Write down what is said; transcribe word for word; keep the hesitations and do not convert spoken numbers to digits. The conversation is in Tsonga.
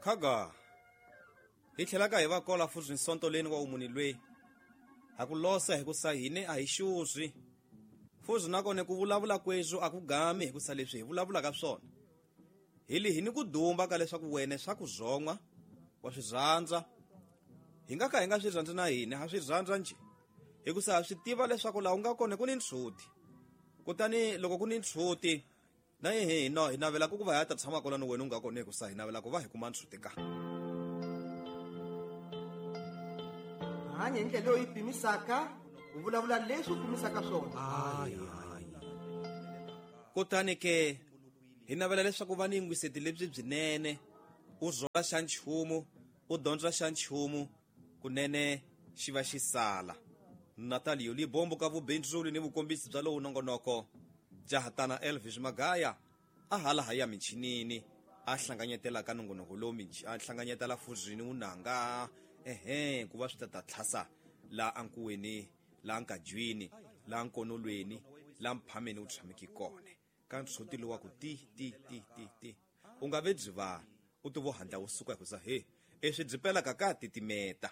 Khaga hi tlhelaka hi va kola futhi nsonto leni wa umuni lwe ha ku losa hi ku sa hine a hi xuzwi futhi nakona ku vulavula kweswo a ku gami hi ku sa leswi hi vulavulaka swona hi li hi ni ku dumba ka leswaku wena swa ku zon'wa wa swi rhandza hi nga ka hi nga swi rhandzi na hina ha swi rhandza njhe hi ku sa ha swi tiva leswaku laha u nga kona ku ni ntshuti kutani loko ku ni ntshuti na hi no hi navela ku va hi ta tshama kona ni wena u nga kona hi ku sa hi navela ku va hi kuma ntshuti ka hanya hi ndlela leyi pimisaka u vulavula leswi u pimisaka swona. Kutani ke hi navela leswaku va ni yingiseti lebyi byinene u zola xa nchumu u dyondza xa nchumu kunene xi va xi sala. Natalio Libombo ka vubindzuli ni vukombisi bya lowu nongonoko jahatana Elvis Magaya a hala ha ya michinini a hlanganyetela ka nongonoko lowu a hlanganyetela fuzini unanga ehe ku va swi ta ta tlhasa la ankuweni la nkajwini la nkonolweni la mphameni u tshameki kona ka ntshuti lowa ku ti ti ti ti ti u nga ve byi vanhu u ti vo handla wu suka hi ku sa he eswi byi pelaka ka titimeta.